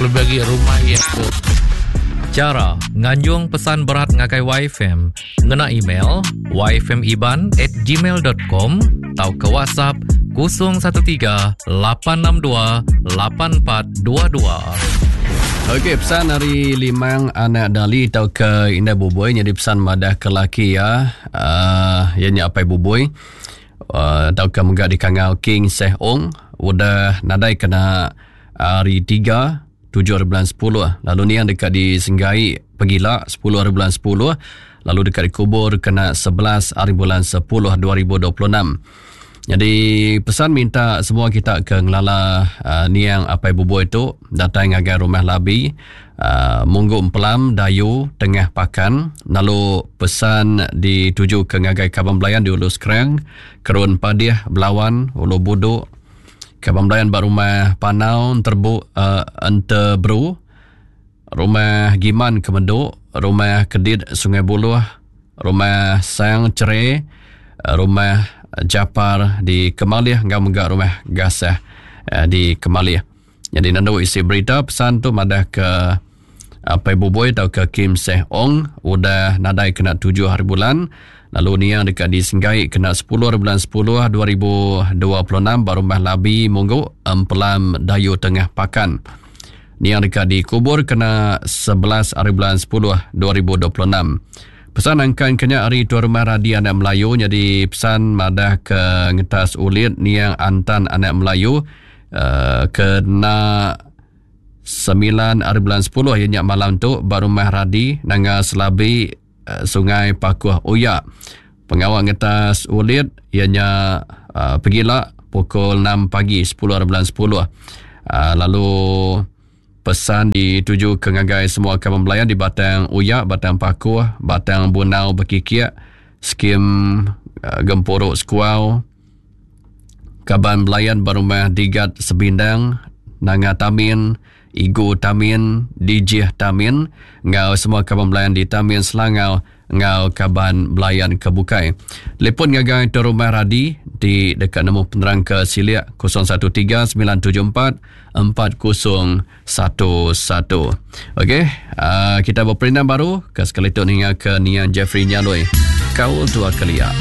Kelebih agi rumah iya ke. Chara nganjung pesan berat ngagai YFM ngena email yfmiban at gmail dot com tauka WhatsApp 013 862 8422. Okey, pesan ari Limang anak Dali tauka Indai Bubui nyadi pesan madah ke laki iya uh, iya nya Apai Bubui uh, tauka mega dikangau King Seh Ong udah nadai kena hari 3 7 hari bulan 10 lalu niang deka disenggai pegila 10 hari bulan 10 lalu deka dikubur kena 11 hari bulan 10 2026. Jadi pesan minta semua kita ke ngelala uh, niang Apai Buboi tu datai ngagai rumah Labi uh, Munggu Empelam Dayu Tengah Pakan lalu pesan dituju ke ngagai kaban belayan di Ulu Skrang, Kerun Padih, Belawan, Ulu Buduk, Kaban belayan ba rumah Panau Enterbu uh, Enteberu, rumah Giman Kemendu, rumah Kedit Sungai Buluh, rumah Sang Cere, rumah Japar di Kemalih enggau mega rumah Gasah uh, di Kemalih. Jadi nandu isi berita pesan tu madah ke Apai Buboi tauka Kim Seh Ong udah nadai kena tujuh hari bulan lalu niang deka disenggai kena sepuluh hari bulan sepuluh 2026 ba Rumah Labi Munggu, Empelam Dayu Tengah Pakan. Niang deka dikubur kena 11 hari bulan 10 2026. Pesan angkan ke nya ari Tuan Rumah Radi Anak Melayu nyadi pesan madah ke ngetas ulit niang Antan Anak Melayu uh, kena Semilan ari bulan sepuluh iya nya malam tu ba Rumah Radi, Nanga Selabi, Sungai Pakuh Uya. Pengawa ngetas ulit iya nya pegila pukul enam pagi sepuluh ari bulan sepuluh lalu pesan dituju ke ngagai semua kaban belayan di Batang Uya, Batang Pakuh, Batang Bunau Bekikik, Skim Gempuru Sekuau, Kaban belayan ba rumah Digat Sebindang, Nanga Tamin, Igu Tamin, Dijih Tamin enggau semua kaban belayan di Tamin Selangau enggau kaban belayan ke bukai. Telefon ngagai Tuan Rumah Radi ti deka nemu penerang ke silik 013 974 4011. Okey, uh, kita berperindang baru ke sekali tu ninga ke Nian Jeffrey Nyaloi. Kaul tua kelia.